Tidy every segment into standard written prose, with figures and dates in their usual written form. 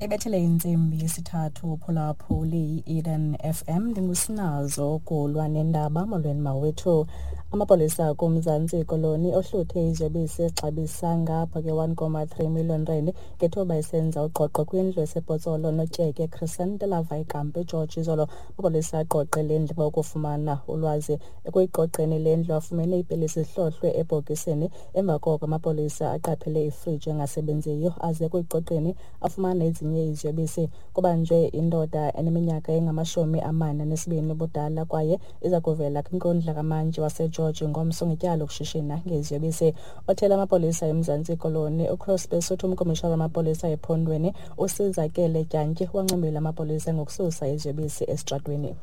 Ibethele intsimbi yesithathu. Phulaphuli, i-Eden FM, ndingusinazo kulwa nendaba. Molweni mawethu. Amapolisa kuMzantsi Koloni ohluthe iziyobisi exabisa ngapha ke-1,3 million rand ngethuba esenza ugqogqo kwindlu esePotsolo Notyeke Crescent eLavayi eGeorge izolo. Amapolisa agqogqe le ndlu ukufumana ulwazi. Ekuyiqoqeni le ndlu afumene iipilisi zihlohlwe ebhokisini. Emva koko amapolisa aqaphele ifriji engasebenziyo, aze ekuyiqoqeni afumana ezinye iziyobisi. Kubanjwe indoda eneminyaka engama-42 ubudala kwaye iza kuvela kwinkundla kamantyi waseGeorge ngomso ngetyala lokushishina ngeziyobisi. Othela amapolisa eMzantsi Koloni uCrosby Suthu, umkomishana wamapolisa ephondweni uSizakele Dyantyi wancomile amapolisa ngokususa iziyobisi esitratweni.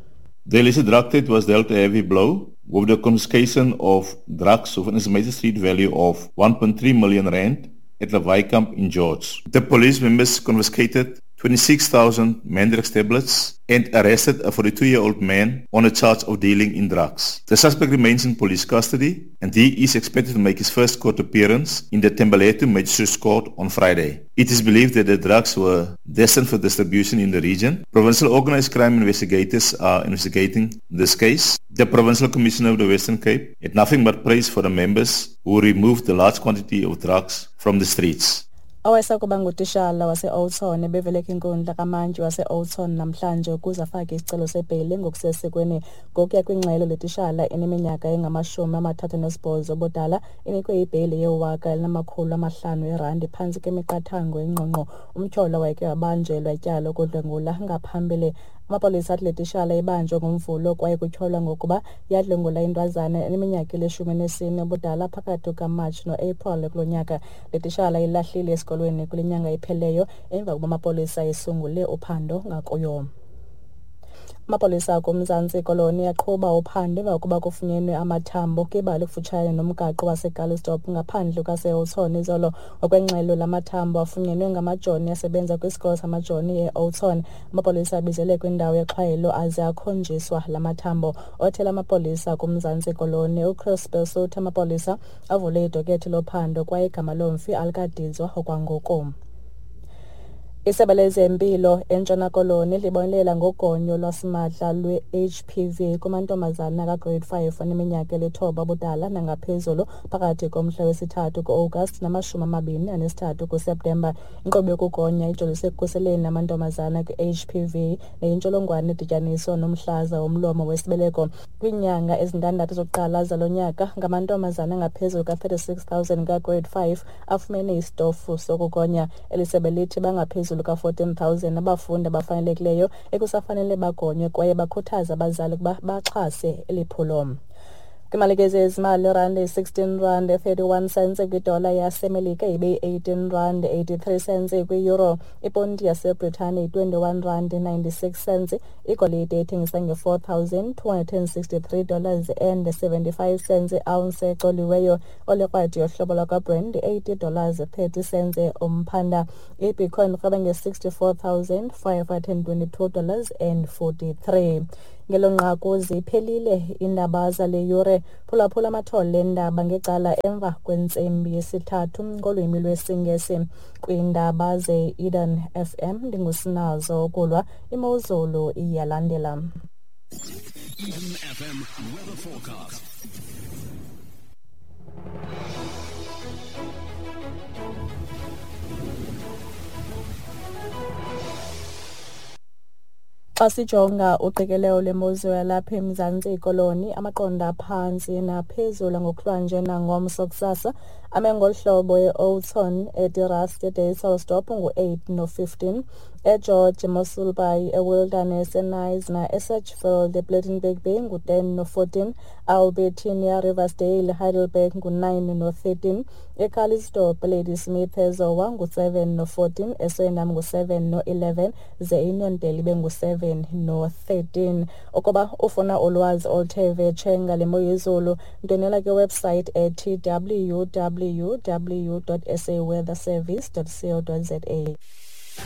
The illicit drug trade was dealt a heavy blow with the confiscation of drugs of an estimated street value of 1.3 million rand at the Camp in George. The police members confiscated 26,000 Mandrax tablets and arrested a 42-year-old man on a charge of dealing in drugs. The suspect remains in police custody and he is expected to make his first court appearance in the Tembaletu Magistrates Court on Friday. It is believed that the drugs were destined for distribution in the region. Provincial organized crime investigators are investigating this case. The Provincial Commissioner of the Western Cape had nothing but praise for the members who removed the large quantity of drugs from the streets. Owayesakuba ngutishala wase-Oudtshoorn ebevele kwinkundla kamantyi wase-Oudtshoorn namhlanje ukuze afake isicelo sebheyile ngokusesikweni. Ngokuya kwingxelo, le tishala eneminyaka engama-38 ubudala inikwe ibheyile ye-1 500 erandi phantsi kwemiqathango engqongqo. Umtyholwa wayeke wabanjelwa ityala lokudlwengula ngaphambili. Amapolisa athi le tishala ibanjwe ngoMvulo kwaye kutyholwa ngokuba yadlwengula intwazana eneminyaka eli-14 ubudala phakathi kukaMatshi noApril kulo nyaka. Le tishala ilahlile esikolweni kule nyanga ipheleyo emva kokuba amapolisa esungule uphando ngakuyo. Amapolisa kuMzantsi Koloni aqhuba uphando emva kokuba kufunyenwe amathambo kwibala ekufutshane nomgaqo waseCalitzdorp ngaphandle kwaseOudtshoorn izolo. Ngokwengxelo, la mathambo afunyenwe ngamajoni asebenza kwisikolo samajoni e-Oudtshoorn. Amapolisa abizelwe kwindawo yexhwayelo aze akhonjiswa la mathambo. Othela amapolisa kuMzantsi Koloni uChris uthi amapolisa avule idokethi lophando kwaye igama lomfi alikadizwa okwangoku. Isebe lezempilo eNtshona Koloni libonelela ngogonyo lwasimahla lwe-HPV kumantombazana kagrade 5 aneminyaka eli-9 ubudala nangaphezulu phakathi komhla wesi-3 ku-August nama-23 kuSeptemba. Inkqubo yokugonya ijolise ekukhuseleni amantombazana kwi-HPV neyintsholongwane edityaniswa nomhlaza womlomo wesibeleko. Kwiinyanga ezintandathu zokuqala zalo nyaka, ngamantombazana angaphezulu ka-36 000 kagrade 5 afumene isitofu sokugonya. Eli sebe lithi bangaphezulu ka-14 000 abafundi abafanelekileyo ekusafanele bagonywe kwaye bakhuthaza abazali ukuba baxhase eli phulo. Kwimalike zezimali, irandi yi-16 rand 31 cents kwidola yaseMelika, ibe yi-18 rand 83 cents kwi-euro. Iponti yaseBritane yi-21 rand 96 cents. Igolide ithengisa nge-$4,263 and 75 cents ounce ecoliweyo. Olekrwada yohlobo lwakwaBrent, $80 30 cents umphanda. Ibitcoin irhweba nge-$64,522 and 43. Ngelo nqaku ziphelile iindaba zale yure. Phulaphula amathole endaba ngecala emva kwentsimbi yesithathu ngolwimi lwesiNgesi. Kwiindaba ze-Eden FM, ndingusinazo ukulwa. Imozulu iyalandela. Eden FM weather forecast. Xa sijonga uqikelelo lwemozulu yalapha eMzantsi Koloni, amaqondo aphantsi naphezulu ngokuhlwanje nangomso kusasa ame ngolu hlobo: e-Oudtshoorn, eDe Rust, eDysselsdorp ngu-8 no-15, eGeorge, eMossel Bay, eWilderness, eKnysna, eSedgefield, ePlettenberg Bay ngu-10 no-14, Albertinia, Riversdale, Heidelberg ngu-9 no-13, eCalitzdorp, Ladysmith, eZowa ngu-7 no-14, eSwellendam ngu-7 no-11, ze iUniondale ibe ngu-7 no-13. Ukuba ufuna ulwazi oluthe vetshe ngale moyezulu, ndwendwela kwiwebsite ethi www.saweatherservice.co.za.